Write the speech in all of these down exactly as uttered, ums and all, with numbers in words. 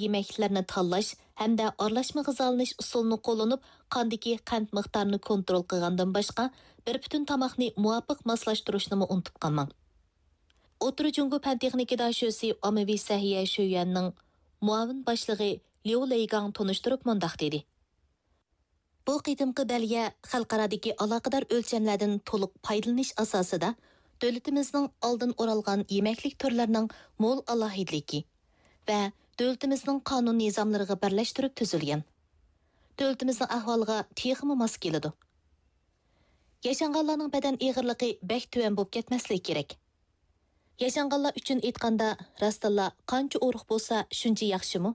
يېمەكلىكلەرنى تاللاش ھەمدە ئارىلاشما غىزالىنىش ئۇسۇلىنى قوللىنىپ، قاندىكى قەنت مىقدارىنى كونترول قىلغاندىن باشقا، بىر پۈتۈن تاماقنى مۇۋاپىق ماسلاشتۇرۇشنىمۇ ئۇنتۇپ قالماڭ. ئوتتۇرا جۇڭگو پەن تېخنىكا داشۆسى ئاممىۋى سەھىيە شۆيۈەننىڭ مۇئاۋىن باشلىقى ليۇ لېيگاڭ تونۇشتۇرۇپ مۇنداق دېدى: بۇ قېتىمقى بەلگە خەلقئارادىكى ئالاقىدار ئۆلچەملەردىن تولۇق پايدىلىنىش ئاساسىدا، دۆلىتىمىزنىڭ ئالدىن ئورالغان يېمەكلىك تۈرلىرىنىڭ مول ئالاھىدىلىكى ۋە دۆلىتىمىزنىڭ قانۇن نىزاملىرىغا بىرلەشتۈرۈپ تۈزۈلگەن. دۆلىتىمىزنىڭ ئەھۋالىغا تېخىمۇ ماس كېلىدۇ. ياشانغانلارنىڭ بەدەن ئېغىرلىقى بەك تۆۋەن بولۇپ كەتمەسلىكى كېرەك. ياشانغانلار ئۈچۈن ئېيتقاندا، راستتىنلا قانچە ئورۇق بولسا، شۇنچە ياخشىمۇ؟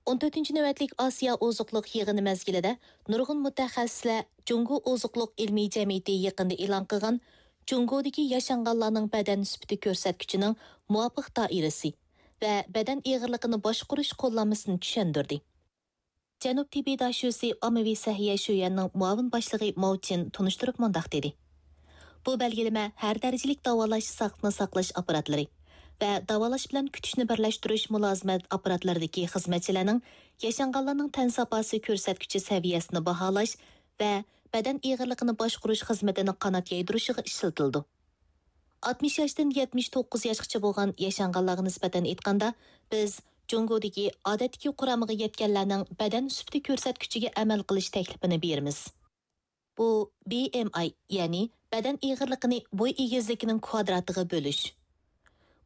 ئون تۆتىنچى نۆۋەتلىك ئاسىيا ئوزۇقلۇق يىغىنى مەزگىلىدە نۇرغۇن مۇتەخەسسىسلەر جۇڭگو ئوزۇقلۇق ئىلمىي جەمئىيىتى يېقىندا ئېلان قىلغان جۇڭگودىكى ياشانغانلارنىڭ بەدەن سۈپىتى كۆرسەتكۈچىنىڭ مۇۋاپىق دائىرىسى ۋە بەدەن ئېغىرلىقىنى باشقۇرۇش قوللانمىسىنى چۈشەندۈردى. جەنۇب تېببىي داشۆسى ئاممىۋى سەھىيە شۆيۈەننىڭ مۇئاۋىن باشلىقى ماۋ چىن تونۇشتۇرۇپ مۇنداق دېدى: بۇ بەلگىلىمە ھەر دەرىجىلىك داۋالاش ساقلىقنى ساقلاش ئاپپاراتلىرى ۋە داۋالاش بىلەن كۈتۈشنى بىرلەشتۈرۈش مۇلازىمەت ئاپپاراتلىرىدىكى خىزمەتچىلەرنىڭ ياشانغانلارنىڭ تەن ساپاسى كۆرسەتكۈچى سەۋىيەسىنى باھالاش ۋە بەدەن ئېغىرلىقىنى باشقۇرۇش خىزمىتىنى قانات يايدۇرۇشىغا ئىشلىتىلىدۇ. ئاتمىش ياشتىن يەتمىش توققۇز ياشقىچە بولغان ياشانغانلارغا نىسبەتەن ئېيتقاندا، بىز جۇڭگودىكى ئادەتتىكى قۇرامىغا يەتكەنلەرنىڭ بەدەن سۈپىتى كۆرسەتكۈچىگە ئەمەل قىلىش تەكلىپىنى بېرىمىز. بۇ بى ئېم ئاي، يەنى بەدەن ئېغىرلىقىنى بوي ئېگىزلىكىنىڭ كۋادراتىغا بۆلۈش.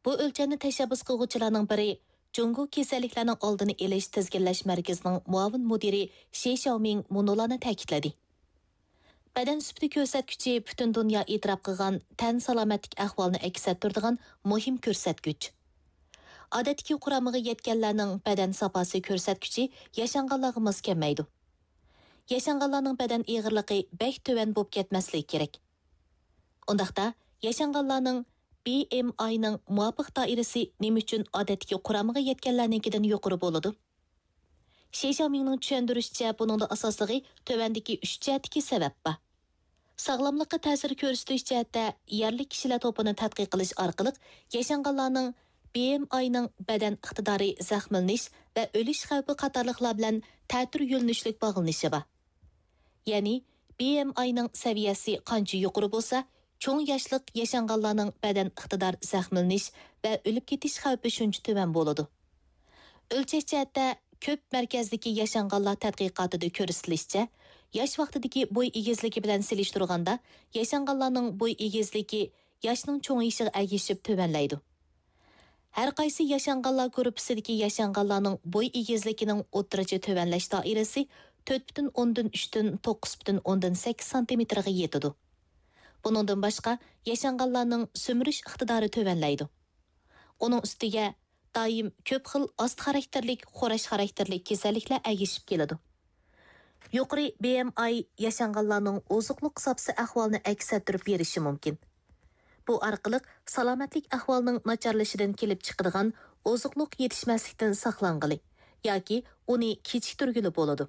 بۇ ئۆلچەمنى تەشەببۇس قىلغۇچىلارنىڭ بىرى، جۇڭگو كېسەللىكلەرنىڭ ئالدىنى ئېلىش تىزگىنلەش مەركىزىنىڭ مۇئاۋىن مۇدىرى شى شياۋمىڭ مۇنۇلارنى تەكىتلىدى: بەدەن سۈپىتى كۆرسەتكۈچى پۈتۈن دۇنيا ئېتىراپ قىلغان تەن سالامەتلىك ئەھۋالىنى ئەكس ئەتتۈرىدىغان مۇھىم كۆرسەتكۈچ. ئادەتتىكى قۇرامىغا يەتكەنلەرنىڭ بەدەن ساپاسى كۆرسەتكۈچى ياشانغانلارغا ماس كەلمەيدۇ. ياشانغانلارنىڭ بەدەن ئېغىرلىقى بەك تۆۋەن بولۇپ كەتمەسلىكى كېرەك. ئۇنداقتا، ياشانغانلارنىڭ بى ئېم ئاينىڭ مۇۋاپىق دائىرىسى نېمە ئۈچۈن ئادەتتىكى قۇرامىغا يەتكەنلەرنىڭكىدىن يۇقىرى بولىدۇ؟ شى شياۋمىڭنىڭ چۈشەندۈرۈشىچە، بۇنىڭدا ئاساسلىقى تۆۋەندىكى ئۈچ جەھەتتىكى سەۋەب بار. ساغلاملىققا تەسىر كۆرسىتىش جەھەتتە يەرلىك كىشىلەر توپىنى تەتقىق قىلىش ئارقىلىق ياشانغانلارنىڭ بى ئېم ئاينىڭ بەدەن ئىقتىدارى، زەخىملىنىش ۋە ئۆلۈش خەۋپى قاتارلىقلار بىلەن تەتۈر يۆنىلىشلىك باغلىنىشى بار. يەنى، بى ئېم ئاينىڭ سەۋىيەسى قانچە يۇقىرى بولسا، چوڭ ياشلىق ياشانغانلارنىڭ بەدەن ئىقتىدار، زەخىملىنىش ۋە ئۆلۈپ كېتىش خەۋپى شۇنچە تۆۋەن بولىدۇ. ئۆلچەش جەھەتتە، كۆپ مەركەزدىكى ياشانغانلار تەتقىقاتىدا كۆرسىتىلىشىچە، ياش ۋاقتىدىكى بوي ئېگىزلىكى بىلەن سېلىشتۇرغاندا، ياشانغانلارنىڭ بوي ئېگىزلىكى ياشنىڭ چوڭىيىشىغا ئەگىشىپ تۆۋەنلەيدۇ. ھەر قايسى ياشانغانلار گۇرۇپپىسىدىكى ياشانغانلارنىڭ بوي ئېگىزلىكىنىڭ ئوتتۇرىچە تۆۋەنلەش دائىرىسى تۆت پۈتۈن ئوندىن ئۈچتىن توققۇز پۈتۈن ئوندىن سەككىز سانتىمېتىرغا يېتىدۇ. بۇنىڭدىن باشقا، ياشانغانلارنىڭ سۈمۈرۈش ئىقتىدارى تۆۋەنلەيدۇ. ئۇنىڭ ئۈستىگە، دائىم كۆپ خىل ئاستا خاراكتېرلىك، خوراش خاراكتېرلىك كېسەللىكلەر ئەگىشىپ كېلىدۇ. يۇقىرى بى ئېم ئاي ياشانغانلارنىڭ ئوزۇقلۇق زاپىسى ئەھۋالىنى ئەكس ئەتتۈرۈپ بېرىشى مۇمكىن. بۇ ئارقىلىق سالامەتلىك ئەھۋالىنىڭ ناچارلىشىشىدىن كېلىپ چىقىدىغان ئوزۇقلۇق يېتىشمەسلىكتىن ساقلانغىلى ياكى ئۇنى كېچىكتۈرگىلى بولىدۇ.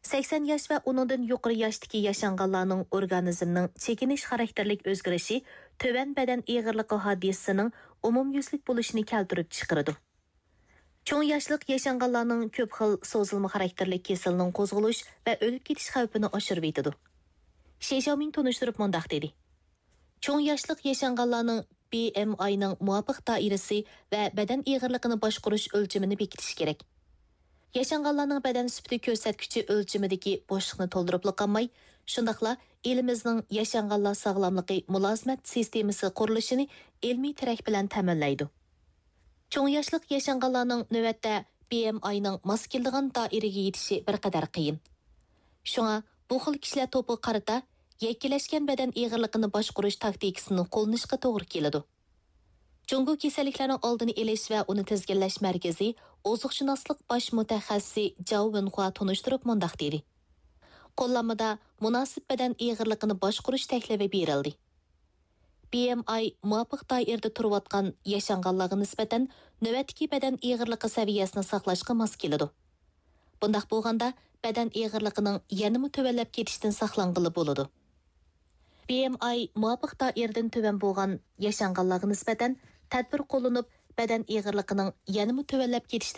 سەكسەن ياش ۋە ئۇنىڭدىن يۇقىرى ياشتىكى ياشانغانلارنىڭ ئورگانىزمنىڭ چېكىنىش خاراكتېرلىك ئۆزگىرىشى تۆۋەن بەدەن ئېغىرلىقى ھادىسىسىنىڭ ئومۇميۈزلۈك بولۇشىنى كەلتۈرۈپ چىقىرىدۇ. چوڭ ياشلىق ياشانغانلارنىڭ كۆپ خىل سوزۇلما خاراكتېرلىك كېسىلىنىڭ قوزغىلىش ۋە ئۆلۈپ كېتىش خەۋپىنى ئاشۇرۇۋېتىدۇ. شى شياۋمىڭ تونۇشتۇرۇپ مۇنداق دېدى: چوڭ ياشلىق ياشانغانلارنىڭ بى ئېم ئاينىڭ مۇۋاپىق دائىرىسى ۋە بەدەن ئېغىرلىقىنى باشقۇرۇش ئۆلچىمىنى بېكىتىش كېرەك. ياشانغانلارنىڭ بەدەن سۈپىتى كۆرسەتكۈچى ئۆلچىمىدىكى بوشلۇقنى تولدۇرۇپلا قالماي، شۇنداقلا ئېلىمىزنىڭ ياشانغانلار ساغلاملىقى مۇلازىمەت سىستېمىسى قۇرۇلۇشىنى ئىلمىي تىرەك بىلەن تەمىنلەيدۇ. چوڭ ياشلىق ياشانغانلارنىڭ نۆۋەتتە بى ئېم ئاينىڭ ماس كېلىدىغان دائىرىگە يېتىشى بىر قەدەر قىيىن. شۇڭا بۇ خىل كىشىلەر توپىغا قارىتا يەككىلەشكەن بەدەن ئېغىرلىقىنى باشقۇرۇش تاكتىكىسىنى قوللىنىشقا توغرا كېلىدۇ. جۇڭگو كېسەللىكلەرنىڭ ئالدىنى ئېلىش ۋە ئۇنى تىزگىنلەش مەركىزى ئوزۇقشۇناسلىق باش مۇتەخەسسىسى جاۋ ۋېنخۇا تونۇشتۇرۇپ مۇنداق دېدى: قوللانمىدا مۇناسىپ بەدەن ئېغىرلىقىنى باشقۇرۇش تەكلىپى بېرىلدى. بى ئېم ئاي مۇۋاپىق دائىرىدە تۇرۇۋاتقان ياشانغانلارغا نىسبەتەن نۆۋەتتىكى بەدەن ئېغىرلىقى سەۋىيەسىنى ساقلاشقا ماس كېلىدۇ. بۇنداق بولغاندا، بەدەن ئېغىرلىقىنىڭ يەنىمۇ تۆۋەنلەپ كېتىشتىن ساقلانغىلى بولىدۇ. بى ئېم ئاي مۇۋاپىق دائىرىدىن تۆۋەن بولغان ياشانغانلارغا نىسبەتەن تەدبىر قوللىنىپ، بەدەن ئېغىرلىقىنىڭ يەنىمۇ تۆۋەنلەپ كېتىشىدىن